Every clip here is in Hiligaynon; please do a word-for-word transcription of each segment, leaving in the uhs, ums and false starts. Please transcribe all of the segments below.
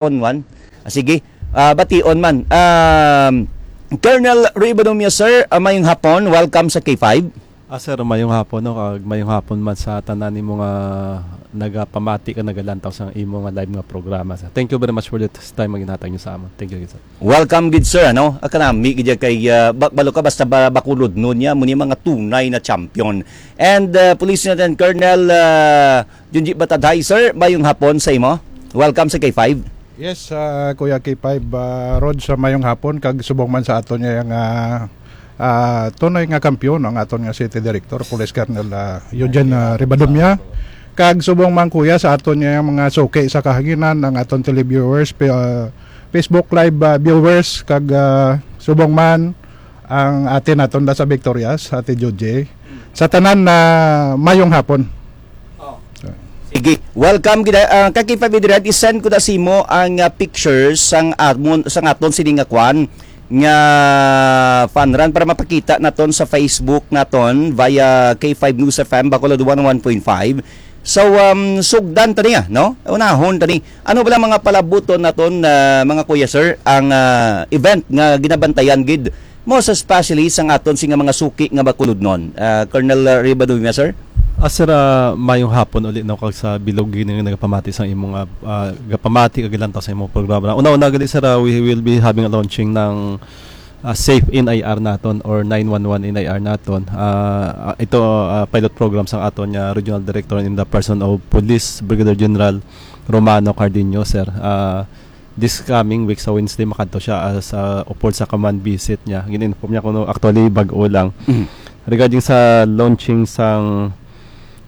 on one. Ah, sige. Ah, bation man. Um, Colonel Ribadomia, sir, ah, mayong hapon. Welcome sa K five. Ah, sir, mayong hapon, no? Kag mayong hapon man sa tanan nimo nga nagapamati ka, nagalantaw sa imo nga live nga programa, sir. Thank you very much for the time nga ginhatag niyo sa amon. Thank you, sir. Welcome gid, sir, ano? Ah, kanami gid ya kay, ah, ba-, balo ka basta ba-, Bacolodnon niya, mo ni mga tunay na champion. And, ah, Police Lieutenant Colonel, ah, Junji Batadhay, sir, mayong hapon sa imo. Welcome sa K five. Yes, ah, Kuya K five, ah, Rod, sa mayong hapon, kag subong man sa aton nga, ah, ah, tunay nga kampiyon ang aton nga City Director, Police Colonel, ah, Eugene, ah, Ribadumia. Kag subong man, Kuya, sa aton nga mga suki sa kahanginan, ang aton televiewers, pe-, ah, Facebook Live, ah, viewers, kag, ah, subong man ang ate naton da sa Victorias, Ate Joje. Sa tanan na mayong hapon. Oh. Sige. Welcome gid, ah, Kaki Fabi Direct, i-send ko na sa imo ang, ah, pictures sang amon, sang aton sini nga kwan nga fun run para mapakita naton sa Facebook naton via K five News F M Bacolod one oh one point five. So, um, sugdan tani, ah, no? Unahon tani. Ano ba lang mga palabuton naton, ah, mga kuya, sir, ang, ah, event nga ginabantayan gid, most especially sang aton sini nga mga suki nga Bacolodnon? Ah, Colonel, ah, Ribaduy, sir? Ah, sir, ah, mayong hapon uli, no, kag sa bilog gid nga nagapamati sa imong, ah, ah, gapamati kag gilantaw sa imong programa. Una-una gali, sir, ah, we will be having a launching ng, ah, Safe N I R naton or nine one one N I R naton. Ah, ah, ito, ah, pilot program sang aton nga regional director in the person of Police Brigadier General Romano Cardenio, sir. Ah, this coming week sa Wednesday, makadto siya as, ah, upod sa command visit niya. Gin-inform niya kuno actually bag-o lang. Mm. Regarding sa launching sang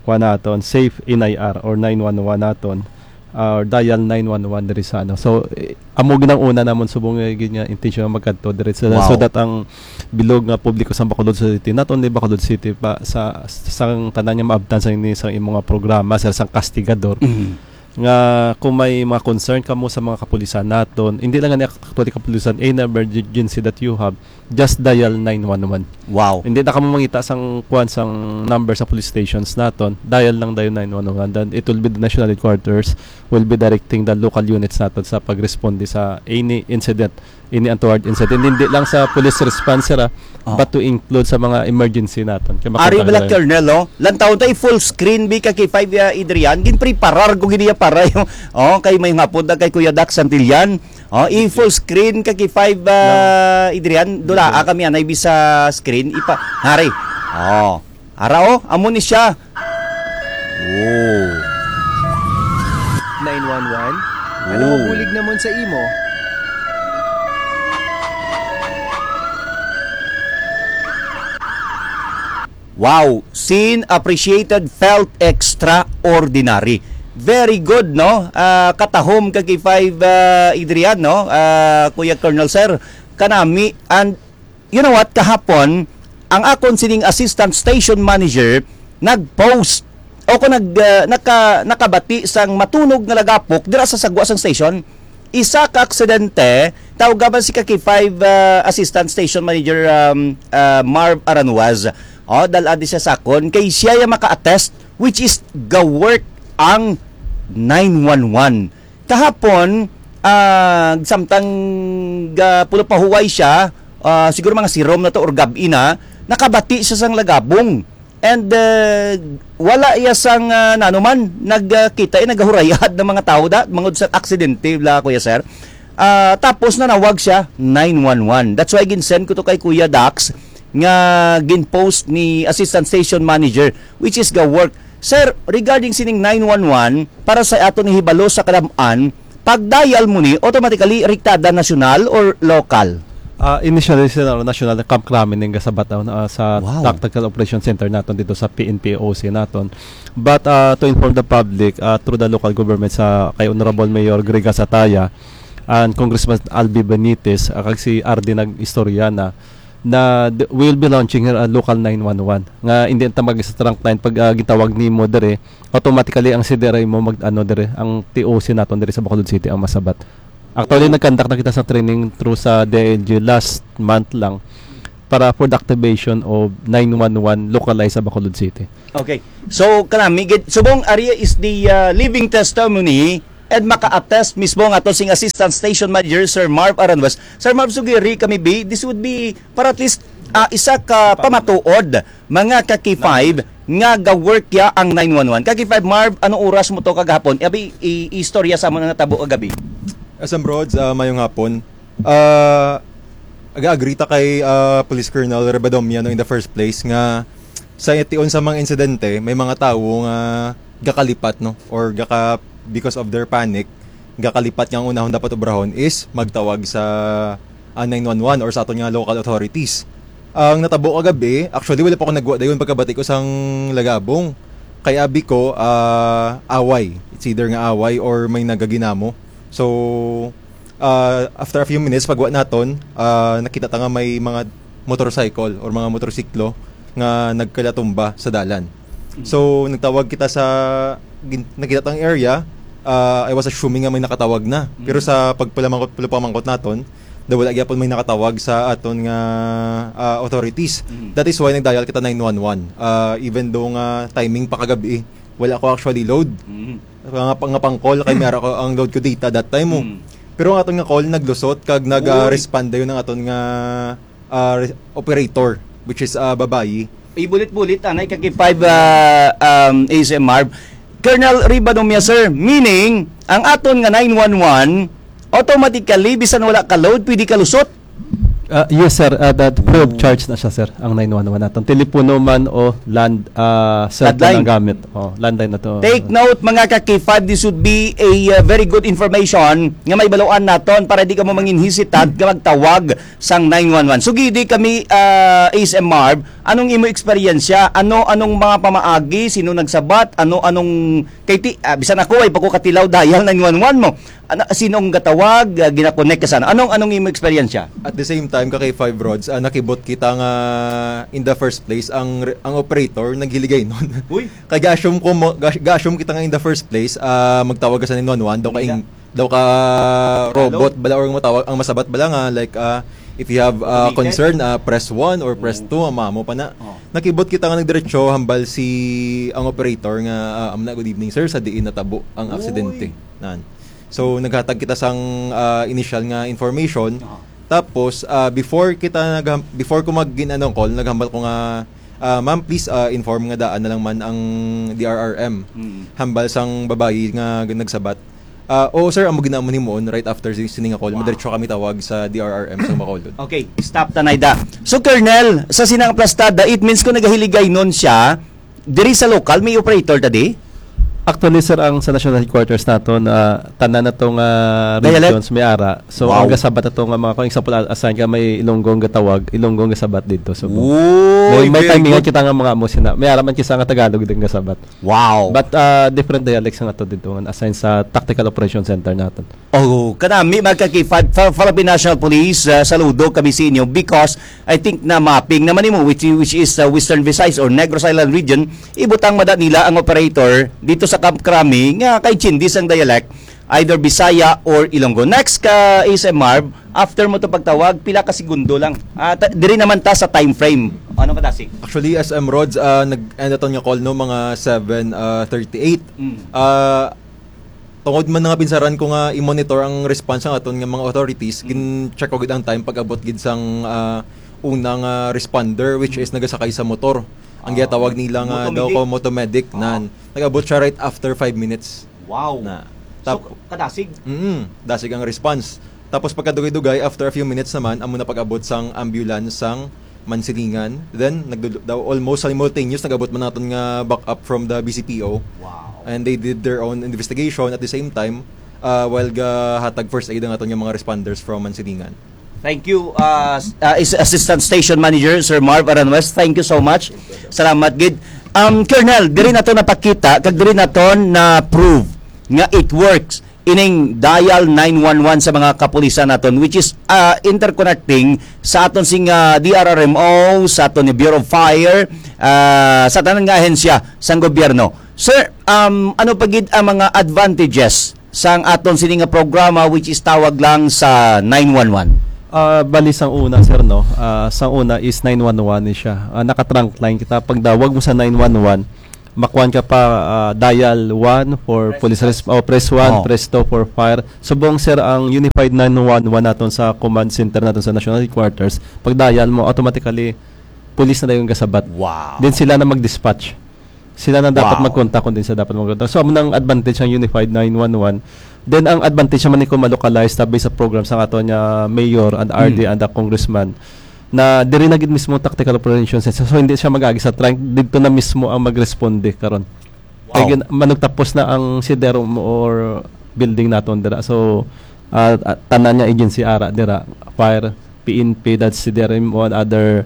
kuha naton, Safe N I R or nine one one naton, ah, or dial nine one one diri sa ano. So, eh, amo ginang una namon subong nga gid nga intention nga magkadto diri sa, Wow. so that ang bilog nga publiko sa Bacolod City, not only Bacolod City pa, sa, sa tanan nga maabtan sa ini, sa imo nga programa, sir, sang kastigador. Mm. Nga kung may mga concern kamo sa mga kapulisan naton, hindi lang nga actually kapulisan, any emergency that you have, just dial nine one one. Wow. Hindi na kamo mangita sang kuan sang number sa police stations naton, dial lang dayon nine one one. Then it will be the national headquarters will be directing the local units naton sa pagresponde sa any incident, any untoward incident. Hindi lang sa police response, sir, ah, Oh. but to include sa mga emergency naton. Kay Ari makontak bala, lang. Colonel, no? Lantawon ta, i-full screen bi ka K five, ah, Adrian. Ginpreparar ko gid iya para yung, oh, kay may hapon na kay Kuya Dax Santillan. Oh, i-full screen ka K five, ah, Adrian. Dula, ah, kami anay bi sa screen. Ipa, hari. Oh. Ara, oh, amo ni siya. Oh. Nine one one? Ano Oh. mabulig namon sa imo? Wow, seen, appreciated, felt extraordinary. Very good, no? Ah, katahom ka K five, ah, Adrian, no? Ah, Kuya Colonel, sir, kanami, and you know what? Kahapon, ang akon sining assistant station manager nag-post o kung nag, ah, naka-, nakabati sang matunog nga lagapok dira sa sagwa sang station. Isa ka aksidente, tawga man si ka K five, ah, Assistant Station Manager, um, ah, Marv Aranuaz. Oh, dal-a di siya sakon, kay siya yung maka-attest, which is ga-work ang nine one one. Kahapon, ah, samtang ga-, pulo pa huway siya, ah, siguro mga sirom na to or gabi na, nakabati siya sang lagabong. And, uh, wala iya sang, uh, nanuman, nagkita, uh, nagahurayad ng mga tao da, mga sa aksidente, bla, Kuya Sir. Ah, tapos nanawag siya, nine one one. That's why ginsend ko to kay Kuya Dax, nga ginpost ni Assistant Station Manager, which is ga work. Sir, regarding sining nine one one, para sa aton ihibalo sa kadam-an, pag-dial mo ni, automatically rektada nasyonal or lokal? Ah, initially, sir, ano, national na Camp Kramen ning gasabat, ah, sa Wow. Tactical Operation Center naton dito sa P N P O C naton. But, ah, to inform the public, ah, through the local government sa kay Honorable Mayor Gregas Ataya and Congressman Albi Benitez, ah, kag si R D nag-istorya na, na th-, we will be launching here a local nine one one. Nga hindi ta mag sa trunk line pag, ah, gitawag nimo dire, automatically ang C D R I mo mag, ano, dire, ang T O C naton dire sa Bacolod City ang masabat. Actually, Oh. nag-conduct na kita sa training through sa D I L G last month lang para for the activation of nine one one localized sa Bacolod City. Okay. So, kanami gid, subong area is the, uh, living testimony And maka-attest mismo nga to sing Assistant Station Manager, Sir Marv Aranwes. Sir Marv, sugiri kami, bi, this would be para at least, ah, isa ka pamatuod, mga ka-K five, nga ga-work ya ang nine one one. Ka-K five Marv, anong oras mo to kagahapon? Abi, i-, istorya sa amon ang natabo kagabi. S M Rods, ah, mayong hapon. Ah, aga-agree ta kay, ah, Police Colonel Rebadomia, no, in the first place nga sa tion sa mga insidente, may mga tawo nga gakalipat, no, or gaka-, because of their panic, gakalipat nga ang unahon dapat obrahon is magtawag sa, ah, nine one one or sa aton nga local authorities. Ang natabo kagabi, actually, wala pa ako nagwa dayon pagkabati ko sang Lagabong. Kay abi ko, ah, away. It's either nga away or may nagaginamo. So, ah, after a few minutes, pagwa naton, ah, nakita ta nga may mga motorcycle or mga motorsiklo nga nagkalatumba sa dalan. So, nagtawag kita sa gin-, nakita tang area. Ah, I was assuming nga may nakatawag na. Pero sa pagpalamangkot, pagpamangkot naton, daw wala gyapon may nakatawag sa aton nga, ah, authorities. That is why nagdial kita nine one one. Ah, even though nga timing pa kagabi, wala ko actually load. Nga, nga pang-call kay mera ko ang load ko data that time mo. Pero ang aton nga call naglusot kag nag-respond dayon ang aton nga, ah, re-, operator, which is, ah, babayi. Ibulit-bulit, anay, kag five, ah, um, A S M R. Colonel Ribadomia, sir, meaning, ang aton nga nine one one, automatically, bisan wala ka load, pwede ka lusot? Ah, yes, sir. Ah, that free of charge na siya, sir, ang nine one one naton. Telepono man o land, ah, cellphone Landline. Ang gamit. Oh, landline na to. Take note, mga ka-K five, this would be a, uh, very good information nga may baluan naton para di ka mo mangin hesitant nga magtawag sang nine one one. So, gidi kami, ah, A S M Marv, anong imo eksperyensya? Ano, anong mga pamaagi? Sino nagsabat? Ano, anong, kay ti, ah, bisan ako, ay pa ko katilaw dial nine one one mo. Ano, sinong gatawag, ah, ginakonek ka sana? Anong, anong imo eksperyensya? At the same time, ka-K five Rods, ah, nakibot kita nga in the first place, ang re-, ang operator naghiligaynon. Uy! Kay ga-assume ko mo, ga-, ga-assume kita nga in the first place, ah, magtawag ka sa nine one one, daw ka Hindi ing-, daw ka Tagalog? Robot bala or matawag, ang masabat bala nga, like, ah, if you have, ah, Automated? Concern, ah, press one or press Oo. Two, ang mamo pa na. Oh. Nakibot kita nga nagdiretso, hambal si ang operator nga, ah, "Amna, good evening, sir, sa diin natabo ang Uy. Aksidente." Nan. So, naghatag kita sang, ah, initial nga information. Aha. Tapos, ah, before kita nagham-, before ko mag-, gin-, ano, call, naghambal ko nga, ah, "Ma'am, please, ah, inform nga daan na lang man ang D R R M." Mm. Hambal sang babayi nga nagsabat. Ah, "Oo, sir, amo gid namon himuon right after si-, sini nga call. Wow. Madiretso kami tawag sa D R R M sa Bacolod." Okay, stop, Tanay Da. So, Colonel, sa sinang plastada, it means kung nagahiligaynon siya, diri sa lokal, may operator ta di? Actually, sir, ang sa national headquarters naton, ah, tanan na to nga Dialect? Regions may ara. So, Wow. Ang gasabat ato nga mga, kung example, a-, assign ka may Ilonggo nga gatawag, Ilonggo nga gasabat dito. So, Uy, may, may very timing good. Kita nga mga amo sina. May ara man kisa nga Tagalog din gasabat. Wow. But, ah, different dialects ang ato dito nga assign sa Tactical Operation Center naton. Oh, kanami, mga ka-K five, Phil-, Philippine National Police, ah, saludo kami sa inyo because I think na mapping naman nimo, which, which is, ah, Western Visayas or Negros Island region, ibutang mada nila ang operator dito sa Camp Crame nga kay Chindis ang dialect, either Bisaya or Ilonggo. Next ka, S M Marv, after mo to pagtawag, pila ka segundo lang. Ah, ta-, diri naman ta sa time frame. Ano ka, Dasig? Actually, S M Rods, ah, nag-end aton nga call, no, mga seven, ah, thirty-eight. Mm. Ah, tungod man nga pinsaran ko nga i-monitor ang response sang aton nga mga authorities, Mm. gin-check ko gid ang time pag-abot gid sang, ah, unang, ah, responder, which Mm. is nagasakay sa motor. Ang Ah, ginatawag nila nga daw motomedic. Ko motomedic, Ah. nan. Nag-abot siya right after five minutes. Wow. Na. So, Tap- kadasig? Mm, dasig ang response. Tapos pagkadugay-dugay, after a few minutes naman, amo na pag-abot sang ambulance sang Mansilingan. Then, nagdul-, daw almost simultaneous, nag-abot man naton nga backup from the B C P O. Wow. And they did their own investigation at the same time, uh, while gahatag first aid ang aton nga mga responders from Mansilingan. Thank you, uh, s-, uh, is-, Assistant Station Manager, Sir Marv Aranwes. Thank you so much. Salamat gid. Um, Colonel, diri nato napakita, kag diri nato na-prove nga it works ining dial nine one one sa mga kapulisan naton, which is, ah, interconnecting sa aton sing, ah, D R R M O, sa aton ni Bureau of Fire, ah, sa tanan nga ahensya sang gobyerno. Sir, um, ano pa gid ang mga advantages sang aton sini nga programa, which is tawag lang sa nine one one? Ah, bali, sang una, sir, no? Ah, sang una is nine one one ni siya. Ah, naka-trunk line kita. Pagdawag mo sa nine one one, makuan ka pa, ah, dial one for police res-, oh, press one, Oh. press two for fire. Subong, sir, ang Unified nine one one naton sa command center naton sa National Headquarters, pag dial mo, automatically, police na dayon gasabat. Wow. Then sila na mag-dispatch. Sila na dapat Wow. mag-contact kung din sa dapat mag-contact. So, amo nang advantage ang Unified nine one one. Then, ang advantage naman ni kung ma-localize tabi sa program sa aton nga mayor and R D Mm. and the congressman na diri na gid mismo ang tactical operations center. So, hindi siya mag-agi sa trunk. Dito na mismo ang magresponde karon. Kay Wow. gin-, manugtapos na ang C D R M or building naton dira. So, ah, ah, tanan nga agency ara dira, fire, P N P, C D R M O, and other,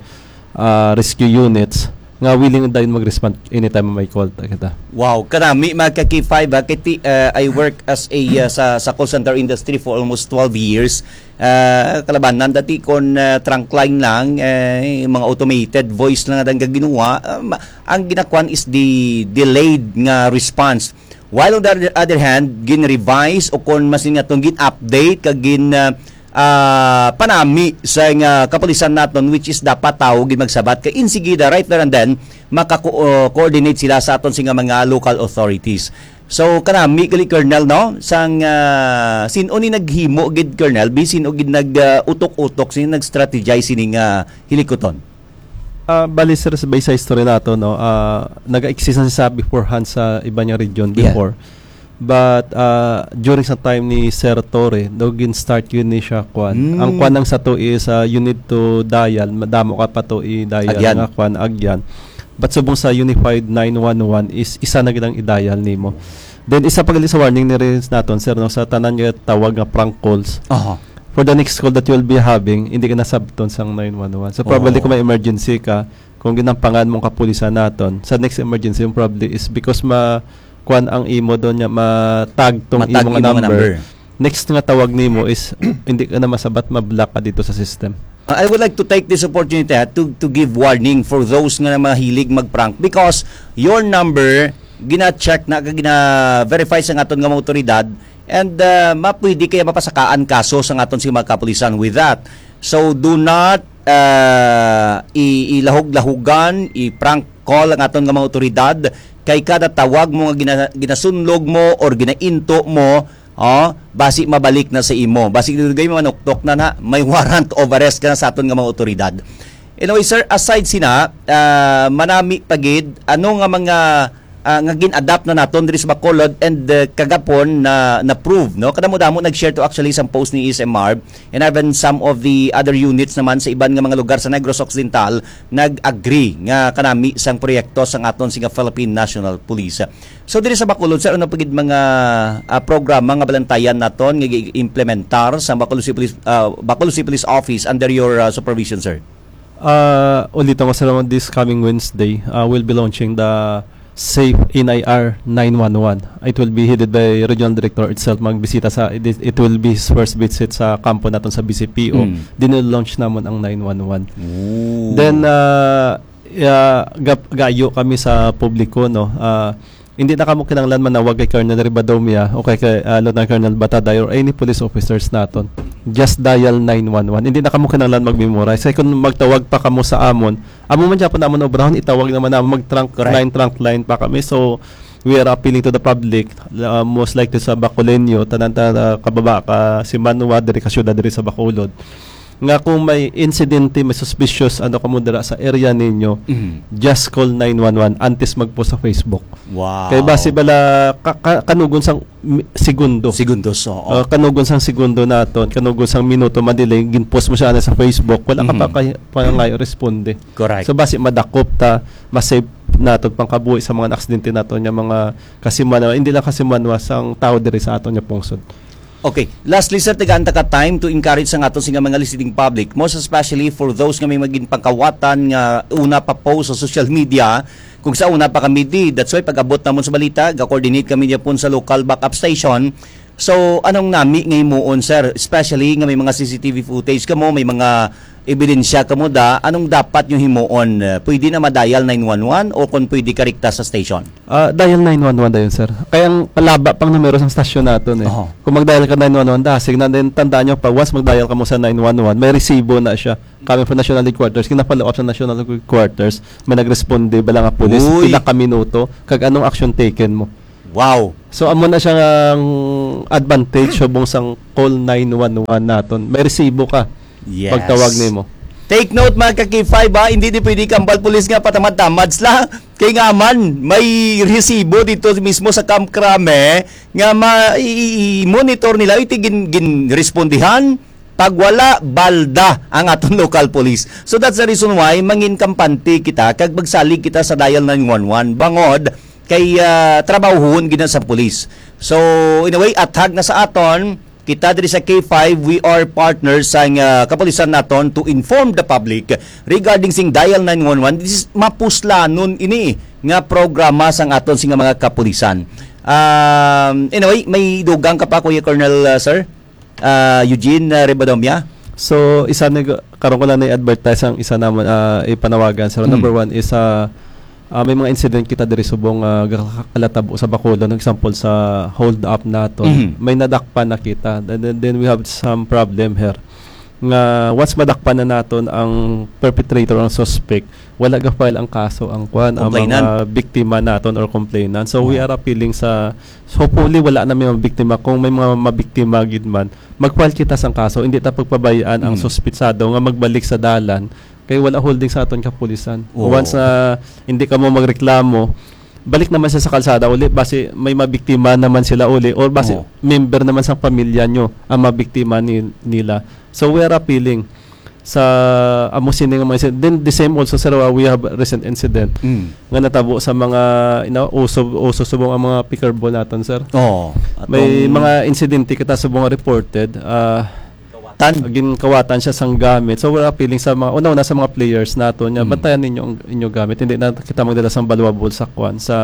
ah, rescue units nga willing dayon mag-respond anytime may call ta kita. Wow, kanami, mga ka-K five, ha, kay ti-, ah, I work as a, ah, sa, sa call center industry for almost twelve years. Ah, kalabanan dati kon, ah, trunk line lang, eh, mga automated voice lang ang ginawa. Ah, ma-, ang ginakuan is the delayed nga response. While on the other hand, gin-revise o kon mas nga tong gin-update kag gin, ah, ah, panami sa nga kapulisan naton, which is dapat tawo gid magsabat kay insigida, right there and then, maka-co-, uh, coordinate sila sa aton sing mga local authorities. So, kanami gali, Colonel, no? Sang, ah, sin-o ni naghimo gid, Colonel? Bisin o gid nag, ah, utok-utok, sino nag-strategize sini nga hilikuton? Ah, bali, sir, sa, sa history nato, no, ah, nag-exist na siya beforehand sa iba niya region Yeah. before. But, ah, during sa time ni Sir Torre, daw gin-start yun ni siya, kwan. Mm. Ang kwan lang sa to is, ah, you need to dial, madamo ka pa to i-dial Agyan. nga kwan, agyan. But subong sa Unified nine one one is isa na gid ang i-dial nimo. Then, isa pa gali sa warning ni rin naton, sir, no, sa tanan nga tawag nga prank calls. Aha. For the next call that you'll be having, hindi ka nasabton sang nine one one. So, probably Oo. kung may emergency ka, kung ginampangan mong kapulisan naton, sa next emergency, yung probably is because ma-, kwan ang imo doon niya, matag tong Matag imo nga imo nga number. number. Next nga tawag nimo is hindi ka na masabat, ma-block ka dito sa system. Uh, I would like to take this opportunity, ha, to, to give warning for those nga mahilig mag-prank because your number gina-check na, gina-verify sa aton nga mga otoridad, and, uh, mapwede kaya mapasakaan kaso sa aton sa mga kapulisan with that. So, do not, uh, i-, ilahog-lahugan, i-prank call ang aton nga mga otoridad kay kada tawag mo nga gina-, ginasunlog mo or ginainto mo, oh, basi mabalik na sa imo. Basi dugay mo manuktok na na, may warrant of arrest ka na sa aton nga mga otoridad. Anyway, sir, aside sina, ah, manami pa gid, ano nga mga, ah, nga gin-adapt na naton diri sa Bacolod and, uh, kagapon na na-prove, no? Kadamo-damo nag-share to actually sa post ni S M R and even some of the other units naman sa iban nga mga lugar sa Negros Occidental nag-agree nga kanami sang proyekto sang aton sing Philippine National Police. So, diri sa Bacolod, sir, ano pa gid mga, ah, programa nga balantayan naton nga gi-implementar sa Bacolod City Police, ah, Bacolod City Police Office under your, ah, supervision, sir? Ah, ulito nga sa naman this coming Wednesday, ah, we'll be launching the Safe N I R nine one one. It will be headed by Regional Director itself. Magbisita sa, it, it will be his first visit sa kampo naton sa B C P O. Mm. Din launch namon ang nine one one. Ooh. Then, ah, yeah, gap-, gayo kami sa publiko, no? Ah, hindi na kamo kinahanglan manawag kay Colonel Ribadomia o kay, kay, ah, Lieutenant Colonel Bataday or any police officers naton. Just dial nine one one. Hindi na kamo kinahanglan mag-memorize. Kay kung magtawag pa kamo sa amon, amo man gyapon namon obrahon, itawag naman namon, mag-trunk Correct. line, trunk line pa kami. So, we are appealing to the public, uh, most likely sa Bacolodnon, tanan ta, uh, kababa ka, si Manua, diri ka syudad, diri sa Bacolod. Nga kung may insidente, may suspicious, ano ka mo dira sa area ninyo, Mhm. just call nine one one antes mag-post sa Facebook. Wow. Kay basi bala, ka-, ka-, kanugon sang mi-, segundo. Segundos, oo. Uh, kanugon sang segundo naton, kanugon sang minuto, madelay, gin-post mo siya na sa Facebook, wala ka Mhm. pa kay, pa nga responde. Correct. So, basi madakop ta, ma-save naton pangkabuhi sa mga aksidente naton nga mga kasimanwa, hindi lang kasimanwa sang tao diri sa aton nga pungsod. Okay. Lastly, sir, tagaan ta ka time to encourage sa aton sing mga listening public, most especially for those nga may magin pangkawatan nga una pa post sa social media. Kung sa una pa kami di, that's why pag-abot namon sa balita, ga-coordinate kami niya pun sa local backup station. So, anong nami nga himuon, sir? Especially nga may mga C C T V footage kamo, may mga ebidensya kamo da, anong dapat nyo himuon? Uh, pwede na ma-dial nine one one o kung pwede ka rikta sa station? Ah, dial nine one one dayon, sir. Kay ang palaba pang numero sang stasyon naton, eh. Oho. Kung mag-dial ka nine one one, dasig na. Then, tandaan nyo, pag once mag-dial ka mo sa nine one one, may resibo na siya. Coming from National Headquarters, kinafollow up sa National Headquarters, may nagresponde bala nga pulis, Uy! pila ka minuto, kag anong action taken mo. Wow! So, amo na siya ang advantage subong sang call nine one one naton. May resibo ka Yes. pagtawag nimo. Take note, mga ka-K five, ha, hindi di pwede kambal pulis nga patamad-tamad sila. Kay nga man, may resibo dito mismo sa Camp Crame nga ma-, i-, i-, i-monitor nila, iti gin-, ginrespondihan, pag wala, balda ang aton local police. So that's the reason why mangin kampante kita kag magsalig kita sa dial nine one one. Bangod kay, ah, trabahuhon gid na sa police. So, in a way, athag na sa aton, kita diri sa K five, we are partners sa, ah, kapulisan naton to inform the public regarding sing dial nine one one. This is mapuslanon ini nga programa sang aton sing mga kapulisan. Um, anyway, may dugang ka pa, Kuya Colonel, ah, sir? Ah, Eugene, ah, Ribadomia? So, isa ni, karon ko lang na i-advertise ang isa namon, ah, ipanawagan. So, Mm. number one is, ah, ah, may mga incident kita diri subong, ah, gakalatabo sa Bacolod. Example, sa hold up naton. Mhm. May nadakpan na kita. Then, then, then we have some problem here. Nga, once madakpan na naton ang perpetrator, ang suspect, wala ga-file ang kaso, ang kwan, ang Complainant. mga biktima naton or complainant. So, we Oo. are appealing sa, hopefully, wala na may mga biktima. Kung may mga mabiktima gid man, mag-file kita sang kaso. Hindi ta pagpabayaan ang Mm. suspitsado nga magbalik sa dalan kay wala holding sa aton kapulisan. Oo. Once na hindi ka mo magreklamo, balik naman siya sa kalsada uli, basi may mabiktima naman sila uli, or basi Oo. member naman sa pamilya nyo ang mabiktima ni-, nila. So, we are appealing sa amo sini nga mga incident. Then, the same also, sir, uh, we have recent incident Mm. nga natabo sa mga, you know, uso, uso subong ang mga picker ball naton, sir. Oo. May Atong mga insidente kita subong nga reported, ah, Tan. ginkawatan siya sang gamit. So, we're appealing sa mga, una-una sa mga players naton, nga Mm. bantayan ninyo ang inyo gamit. Hindi na kita magdala sang valuable sa kwan, sa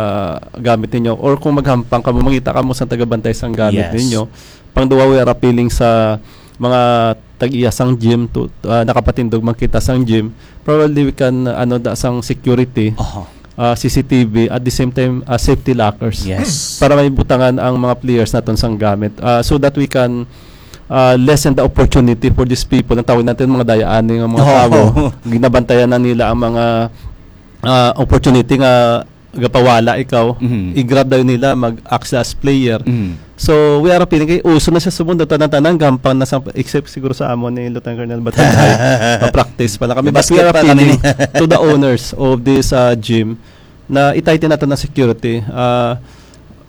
gamit ninyo. Or kung maghampang kamo, mangita kamo sa tagabantay sang gamit Yes. ninyo. Pangduwa, we are appealing sa mga tag-iya sang gym to, ah, nakapatindog man kita sang gym. Probably we can, ano, da sang security, Aha. ah, C C T V, at the same time, ah, safety lockers. Yes. Para may butangan ang mga players naton sang gamit. Ah, so that we can, ah, lessen the opportunity for these people. Ang tawag natin mga dayaan nga mga Oo. tao. Ginabantayan na nila ang mga, ah, opportunity nga gapawala ikaw, Mhm. i-grab daw nila mag-act as player. Mhm. So, we are appealing kay uso na siya subong, tanan-tanan gampang na sa, except siguro sa amon ni Lieutenant Colonel Batagay. Pa-practice pa lang kami. But we Basket are pa kami. appealing to the owners of this, uh, gym na i-tighten nato na security. Uh,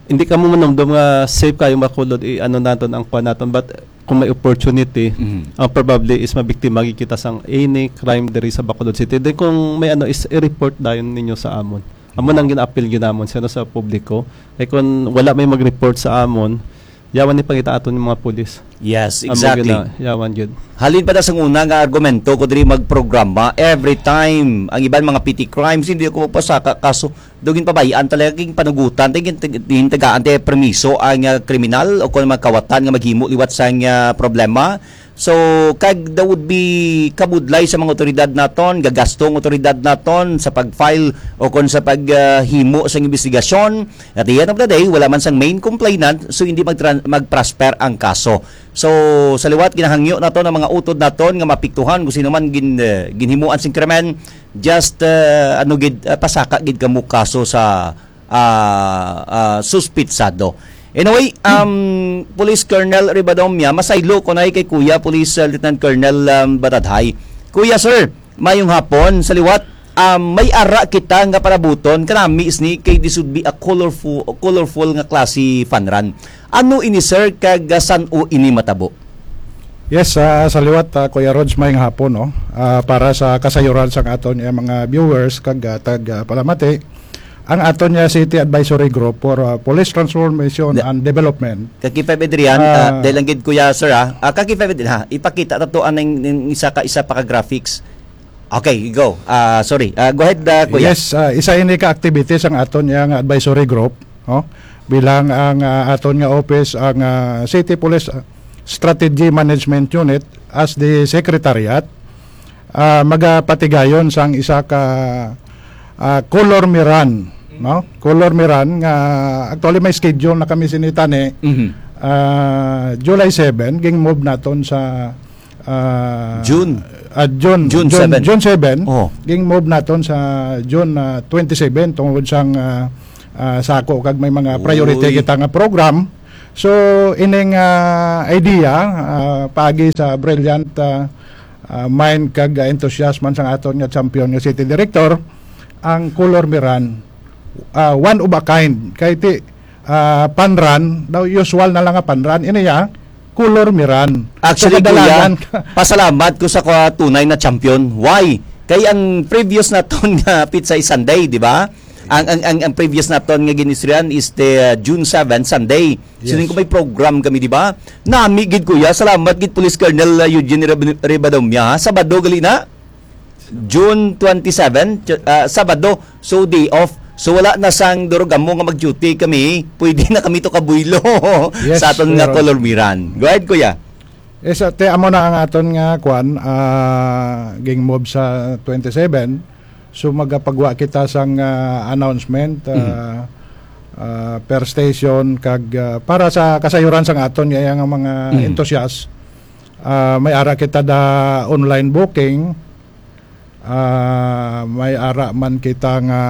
hindi ka mo manumdum nga safe kayo makulod, i-ano naton ang kwan naton. But kung may opportunity, Mhm. ang probably is mabiktima gid kita sang any crime diri sa Bacolod City. Then kung may ano is i-report dayon ninyo sa amon. Amo nang gina-appeal gyud namon sa, ano, sa publiko. Kay kun wala may mag-report sa amon, yawan ni pangita aton yung mga pulis. Yes, Amo exactly. gyud na, yawan gyud. Halin pa ta sa una nga argumento ko diri magprograma, every time ang iban mga petty crimes, hindi ako magpasaka kaso daw ginpabayaan talaga, king panugutan, tay gin-, gintagaan tay permiso ang, ah, kriminal o kung mga kawatan nga maghimo liwat sang, ah, problema. So, kag there would be kabudlay sa mga otoridad naton, gagasto ang otoridad naton sa pag-file o kon sa pag, ah, himo sang investigasyon. At the end of the day, wala man sang main complainant, so hindi magtran-, mag-prosper ang kaso. So, sa liwat, ginahangyo naton ang mga utod naton nga mapiktuhan kung sino man gin-, ah, ginhimuan sing krimen, just, ah, ano gid, ah, pasaka gid kamo kaso sa ah, ah, suspitsado. Anyway, um, Police Colonel Ribadomia, masaylo ko na kay Kuya Police, uh, Lieutenant Colonel, um, Batadhay. Kuya, sir, mayong hapon. Sa liwat, um, may ara kita nga parabuton, kanami sini kay this would be a colorful, colorful nga klase fun run. Ano ini, sir, kag, uh, san-o ini matabo? Yes, ah, sa liwat, ah, Kuya Rods, mayong hapon, no? Ah, para sa kasayuran sang aton, eh, mga viewers kag, ah, tag, ah, palamati, ang aton nga City Advisory Group for, ah, Police Transformation Da- and Development. Kaki five Adrian, ah, Ah. dahil lang gid, Kuya, sir, ah. Ah, Kaki five Adrian, ha, ipakita ta to ang, ang isa ka, isa pa ka graphics. Okay, go. Ah, sorry. Ah, go ahead, ah, Kuya. Yes, ah, isa ini ka activities ang aton nga advisory group, no? Bilang ang, ah, aton nga office, ang, ah, City Police Strategy Management Unit, as the secretariat, ah, magapatigayon sang isa ka, ah, color miran, no? Color miran nga actually may schedule na kami sini tani, Mhm. ah, July seven, ging-move naton sa, ah, June. ah, June, June June, seven. June seven, Oh. ging-move naton sa June, ah, twenty-seven tungod sang, ah, ah, sako kag may mga priority Uy. kita nga program. So, ining, ah, idea, ah, paagi sa brilliant, ah, ah, mind kag, ah, enthusiasm man sang aton nga champion nga city director, ang color miran, ah, one of a kind. Kay ti, ah, panran, daw usual na lang nga panran. Ini ya, color miran. So, Actually, kadalanan kuya, pasalamat ko sa ka-, tunay na champion. Why? Kay ang previous naton nga Pizza is Sunday, di ba? Ang, ang, ang, ang previous naton nga ginistoryahan is the, uh, June seven, Sunday. Yes. Sining ko may program kami, di ba? Nami gid, kuya. Salamat gid, Police Colonel, uh, Eugene Rib-, Ribadomia, ha? Sabado gali na? June twenty-seven, ch-, ah, Sabado. So, day off. So, wala na sang durog amo nga mag-duty kami. Pwede na kami to kabuylo Yes, sa aton nga meron. Color Miran. Go ahead, kuya. Eh, sa, te, amo na ang aton nga kwan, ah, ging move sa twenty-seven. So, magapagwa kita sang, ah, announcement, ah, Mhm. ah, per station, kag, ah, para sa kasayuran sang aton nga, nga mga Mhm. enthusiast, ah, may ara kita da online booking. Ah, may ara man kita nga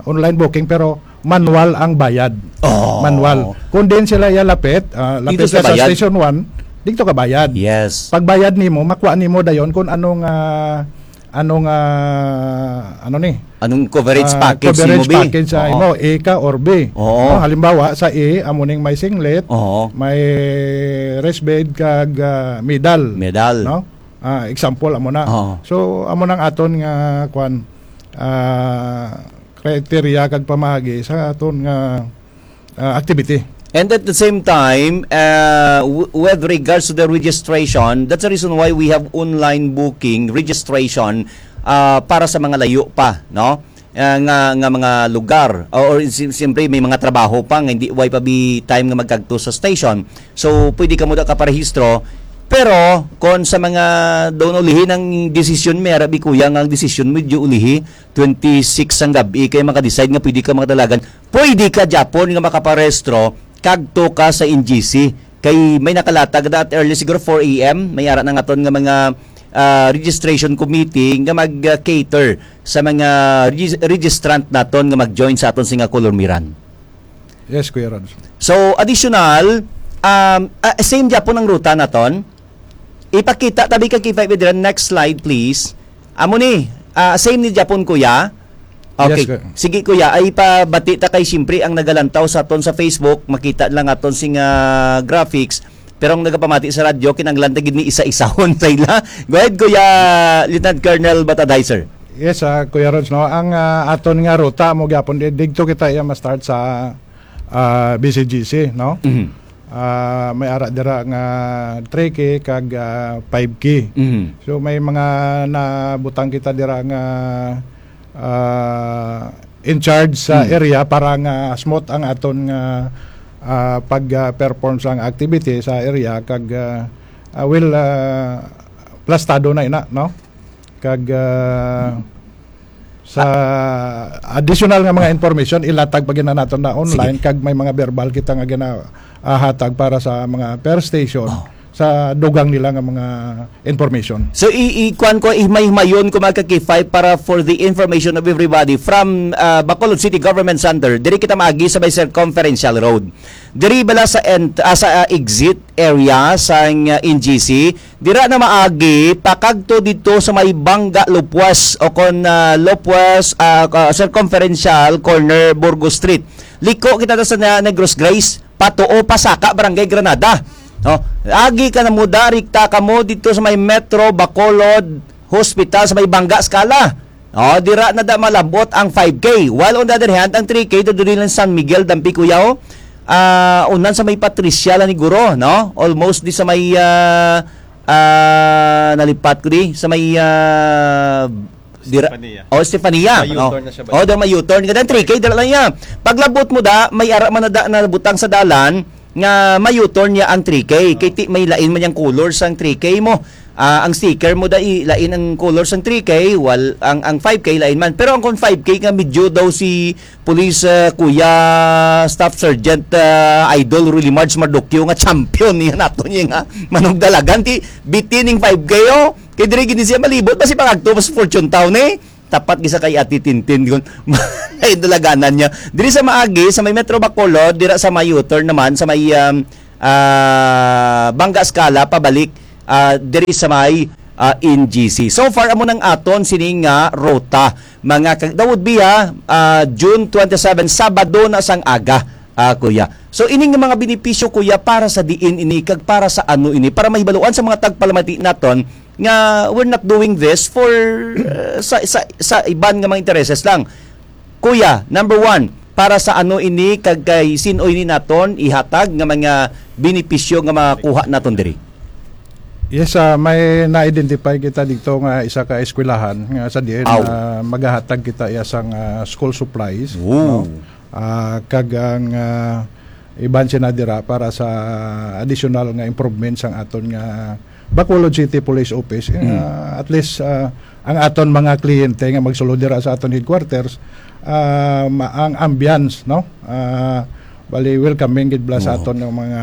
online booking, pero manual ang bayad. Oh. Manual. Kung din sila iya lapit, ah, lapit Dito sa sa bayad. Station one, dito ka bayad. Yes. Pagbayad nimo, makuha nimo dayon kung anong, ah, anong, ah, ano ni? Anong coverage Ah, package coverage nimo, bi? Package sa Oo. imo, A ka or B. Oo. No, halimbawa, sa A, amo ning may singlet, Oo. may rest bed, kag, ah, medal. Medal. No? Ah, example, amo na. Oo. So, amo nang aton nga, kwan, ah, criteria kag pamaagi sa aton nga, ah, activity. And at the same time, uh, w-, with regards to the registration, that's the reason why we have online booking registration, uh, para sa mga layo pa, no? Uh, nga, nga mga lugar. Or, or si-, siyempre, may mga trabaho pa nga hindi, way pa bi time nga magkagto sa station. So, pwede ka mo da kaparehistro. Pero, kung sa mga doon ulihi ng desisyon, may arabi kuya nga ang desisyon medyo ulihi, twenty-six sang gabi, kay maka-decide nga pwede ka makadalagan. Pwede ka, Japon, nga makaparehistro, kagto ka sa N G C. Kay may nakalatag na at early, siguro four A M, may ara na nga ton nga mga, ah, registration committee nga mag-cater sa mga regis-, registrant naton nga mag-join sa aton singa Color Miran. Yes, Kuya Rod. So, additional, um, ah, same gyapon ang ruta naton. Ipakita tabi ka K five dira. Next slide, please. Amo ni, ah, same ni gyapon, kuya. Okay. Yes, kuya. Sige, kuya, ay pabati ta kay siyempre ang nagalantaw sa aton sa Facebook, makita lang aton sing, ah, graphics. Pero ang nagapamati sa radyo, kinahanglan ta gid ni isa-isahon sa ila. Go ahead, Kuya Lieutenant Colonel Batadhay, sir. Yes, ah, Kuya Rods, no? Ang, ah, aton nga ruta mo gyapon, di-, digto kita iya ma-start sa, ah, B C G C, no? Mhm. Ah, may ara dira nga three K kag, ah, five K. Mhm. So, may mga nabutang kita dira nga, ah, in charge sa Mm. area para nga smooth ang aton nga, ah, pag, ah, perform sa activity sa area kag, ah, ah, well, ah, plastado na ina, no? Kag, ah, sa additional nga mga information, ilatag pa gina naton na online, Sige. kag may mga verbal kita nga gina, ah, hatag para sa mga per station, Oh. sa dugang nila nga mga information. So, i-, i-, kuwan ko, himay-himayon ko, mga ka-K five, para for the information of everybody, from, ah, Bacolod City Government Center, diri kita maagi sa may Circumferential Road. Diri bala sa ent-, ah, sa, ah, exit area sa, ah, N G C, dira na maagi, pakagto dito sa may Bangga Lopez o kon, ah, Lopez, ah, ka-, Circumferential Corner, Burgos Street. Liko kita sa na-, Negros Grace, patuo pa saka Barangay Granada. No? Agi ka na mo, darikta ka mo dito sa may Metro Bacolod Hospital sa may Bangga Scala. Oh, dira na da malabot ang five K. While on the other hand, ang three K, diri lang San Miguel, Dampi, Cuyao. Ah, unan sa may Patricia lang ni Guro, no? Almost di sa may, ah, ah, nalipat ko di, sa may, ah, Dira, Stefania. Oh, Stefania. May Oh. U-turn na siya ba? Oh, daw may U-turn. Kada three K, dala lang niya. Paglabot mo da, may ara man na da, na butang sa dalan, nga may U-turn niya ang three K. Kay ti, may lain man yung color sang three K mo. Ah, ang sticker mo da, i, lain ang color sang three K, wal, ang, ang five K lain man. Pero ang kon five K nga medyo daw si Police, ah, Kuya Staff Sergeant, ah, Idol Ruly Marge Mardukyo nga champion niya nato niya nga manugdalagan. Ti, biti ning five K, oh. Kay diri gini siya malibot, basi pangagto, mas Fortune Town, eh. Tapat gisa kay Ate Tintin, kun ay dalaganan niya. Diri sa Maagi, sa may Metro Bacolod, dira sa may U-turn naman, sa may, um, ah, Banga Escala, pabalik, ah, diri sa may, ah, N G C. So far, amo nang aton sini nga ruta. Mga kag-, that would be, ha, ah, June twenty-seven, Sabado na sang aga, ah, kuya. So, ini nga mga benepisyo, kuya, para sa diin ini, kag para sa ano ini, para mahibaluan sa mga tagpalamati naton, nga we're not doing this for, uh, sa, sa, sa iban nga mga intereses lang. Kuya, number one, para sa ano ini kag kay sin-o ini naton ihatag nga mga benepisyo nga makuha naton diri? Yes, ah, may na-identify kita dito nga isa ka eskwelahan nga sa diin Aw. na magahatag kita iya sang, ah, school supplies, Ooh. no? Ah, kag ang, ah, iban sina dira para sa additional nga improvements ang aton nga Bacolod City Police Office. Mm. Ah, at least, ah, ang aton mga kliyente nga magsulod dira sa aton headquarters, ah, ma-, ang ambience, no? Ah, bali, welcoming gid bala sa Oo. aton nga mga,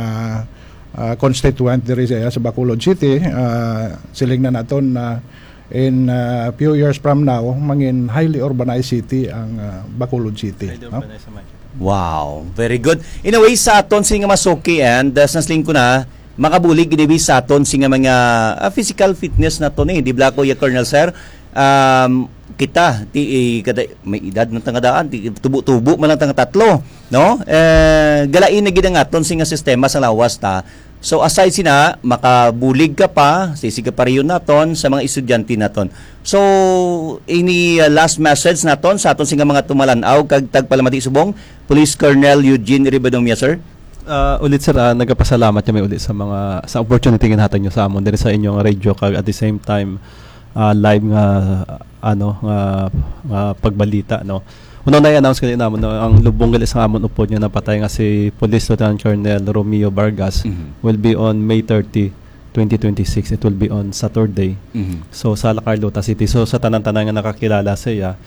ah, constituent diri sa, sa Bacolod City. Ah, siling na naton na in, ah, few years from now, mangin highly urbanized city ang, ah, Bacolod City, Highly no? urbanized naman. Wow, very good. In a way, sa aton sini nga masuki and, uh, sa siling ko na, makabulig gid sa aton sini nga mga, ah, physical fitness naton, eh. Di ba, Kuya Colonel, sir? Um, kita, ti, eh, kada, may edad na tanga daan, ti, tubo-tubo man lang tanga tatlo, no? Eh, galain na gid ang aton sini nga sistema sa lawas ta. So, aside sina, makabulig ka pa, sisig ka pa riyon naton sa mga estudyante naton. So, ini, uh, last message naton sa aton sini nga mga tumalan-aw kag tagpalamati subong, Police Colonel Eugene Ribadomia, sir. Ah, ulit, sir, ah, nagapasalamat kami ulit sa mga, sa opportunity nga nahatag nyo sa amon diri sa inyong radio kag at the same time, ah, live nga, ano, nga, nga pagbalita, no. Una na i-announce ko namon, no, ang lubong gali sa amon upod nga napatay nga si Police Lieutenant Colonel Romeo Vargas Mhm. will be on May thirty, twenty twenty-six. It will be on Saturday. Mhm. So, sa La Carlota City. So, sa tanan-tanan nga nakakilala sa iya,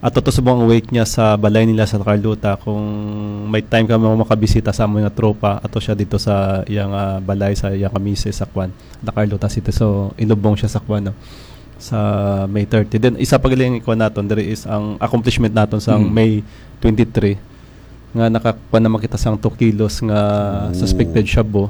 at to subong ang wake niya sa balay nila sa La Carlota, kung may time ka mo makabisita sa amon nga tropa, ato siya dito sa iyang, ah, balay, sa iyang kamise sa kwan, La Carlota City. So, inubong siya sa kwan, no? Sa May thirty. Then, isa pa galing ikuha naton, diri is ang accomplishment naton sa Mm. May twenty-three, nga nakakuha naman kita sang two kilos nga Oo. suspected shabu.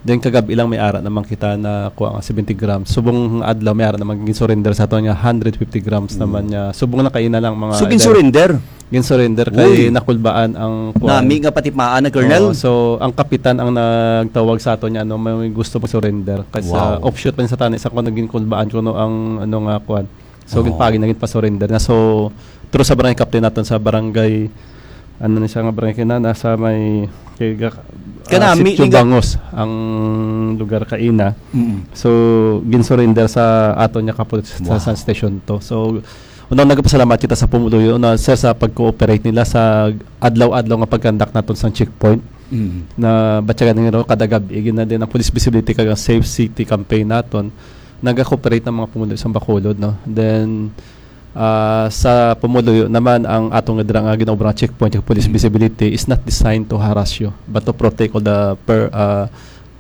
Then, kagab-i lang may ara naman kita na kuha nga seventy grams. Subong adlaw, may ara naman gin-surrender sa aton nga hundred fifty grams Mm. naman nga. Subong na kaina lang mga So, gin-surrender? Gin-surrender kay Uy. nakulbaan ang kuan. Nami nga patimaan na, Colonel? Oo, so, ang kapitan ang nagtawag sa aton nga, ano, may gusto mag-surrender. Kasi Wow. offshoot pa sa tani sa kuan, naging kulbaan kuno ang, ano nga, kuan. So, Oo. ginpagi na, ginpa-surrender na. So, through sa barangay captain naton sa barangay, ano na siya nga barangay kina, nasa may, kay ga-, ah, Kanami, Sitio liga- Bangos ang lugar kaina. Mm. So, gin-surrender sa aton nga kapulit sa, sa Wow. San Station to. So, unang nagpasalamat kita sa pumuluyo na, sir, sa pag-cooperate nila sa adlaw-adlaw nga pag-conduct naton sa checkpoint. Mm. Na batyagan nila kada gabi, gina din ang police visibility kag ang safe city campaign naton. Naga-cooperate ang mga pumuluyo sa Bacolod, no? Then, ah, sa pumuluyo naman, ang atong dira nga ginaobra nga checkpoint, yung police Mm. visibility is not designed to harass you, but to protect all the per-, ah,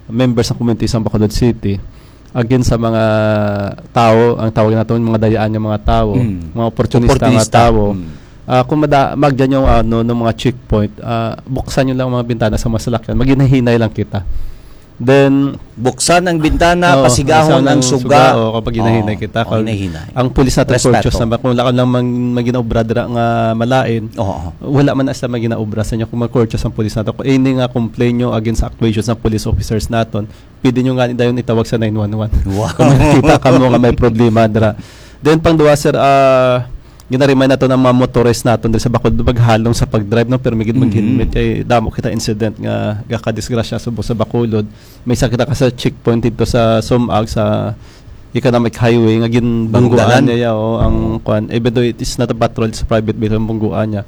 members ng community sa Bacolod City against sa mga tao, ang tawag naton mga dayaan nga mga tao, Mm. mga oportunista nga Oportunista. tao. Mm. Ah, kung mada-, magdyan yung, ano, ng mga checkpoint, ah, buksan nyo lang mga bintana sa mga salakyan, maghinay-hinay lang kita. Then, Buksan ang bintana, Oo, pasigahon buksan ang ang suga. suga, o, kapag hinahinay Oo, kita, o, kapag hinahinay. ang pulis natin Respeto. courteous naman, kung wala ka lang mang, maginaobra dira nga malain, Oo. wala man na sila maginaobra sa inyo kung mag-courteous ang pulis natin. Kung any nga complain nyo against sa actuations ng police officers naton, pwede nyo nga ni dayon itawag sa nine one one. Wow. Kung makita ka mo nga may problema dira. Then, pang duwa, sir, ah, ginaremind nato ng mga motorist naton diri sa Bacolod, maghalong sa pag-drive, no? Pero may gid Mm. mag-helmet, kay damo kita incident nga gakadisgrasya subong sa Bacolod. May isa kita ka sa checkpoint dito sa Sumag, sa economic highway nga ginbungguan Bunggalan. niya, oh, ang kwan, even though it is not a patrol, it's a private vehicle ang bungguan niya.